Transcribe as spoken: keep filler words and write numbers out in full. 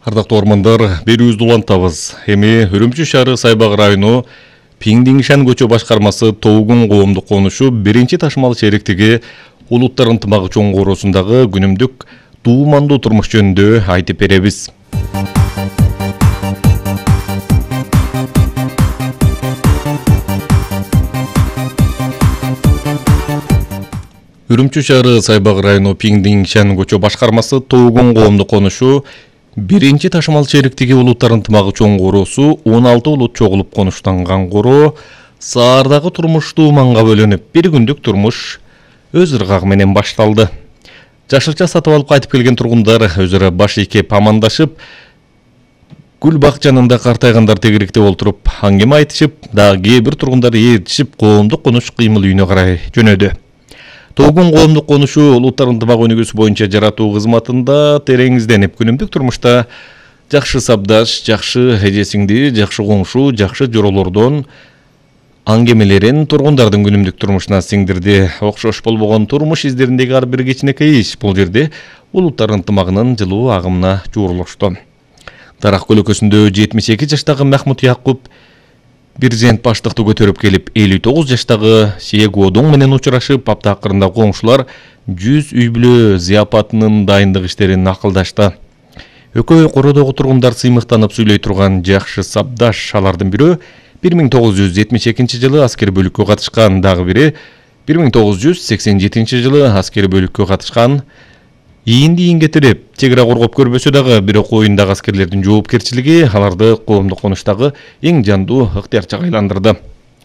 Ардактуу ормандар, берүүбүздү улантабыз. Эми Үрүмчү шаары Сайбак району Пиңдиңшан көчө башкармасы Тоогун коомдук конушу биринчи ташымал шериктиги улуттар ынтымагы чоңгоорусундагы күнүмдүк туумандуу турмуш жөнүндө айтып беребиз. Үрүмчү шаары Сайбак району Пиңдиңшан көчө башкармасы Тоогун коомдук конушу биринчи ташымал шериктиги улуттар ынтымагы чоңгоорусу он алты улут чогулуп конуштанган короо саардагы турмуш тууманга бөлүнүп, бир күндүк турмуш өз ыргагы менен башталды. Жашылча сатып алып кайтып келген тургундар өзүрө баш ийкеп амандашып, гүл бакчанында картайгандар тегеректеп олтуруп аңгеме айтышып, дагы кээ бир тургундар ээрчишип коомдук конуш кыймыл үйүнө карай жөнөдү. Тоогун коомдук конушу улуттар ынтымагы өнүгүүсү боюнча жаратуу кызматында тереңизденип, күнүмдүк турмушта жакшы сабдаш, жакшы эже-сиңди, жакшы коңшу, жакшы жоролордон аңгемелерин тургундардын күнүмдүк турмушуна сиңдирди. Окшош болбогон турмуш издериндеги ар бир кичинекей иш бул жерде улуттар ынтымагынын жылуу агымына жуурулушту. Дарак көлөкөсүндө жетимиш эки жаштагы Махмут Якуп Бирзент баштыкты көтөрүп келип, элүү тогуз жаштагы Сиегодоң менен учурашып, апта акырында коңшулар жүз үй бүлө зыяпатынын дайындык иштерин акылдашты. Экөө кородогу тургундар сыймыктанып сүйлөй турган жакшы сабдаш. Алардын бирөө бир миң тогуз жүз жетимиш экинчи жылы аскер бөлүккө катышкан, дагы бири бир миң тогуз жүз сексен жетинчи жылы аскер бөлүккө катышкан. Ийинди ийинге тиреп, чек ара коргоп көрбөсө дагы, бирок оюндагы аскерлердин жоопкерчилиги аларды коомдук конуштагы эң жандуу ыктыярчыга айландырды.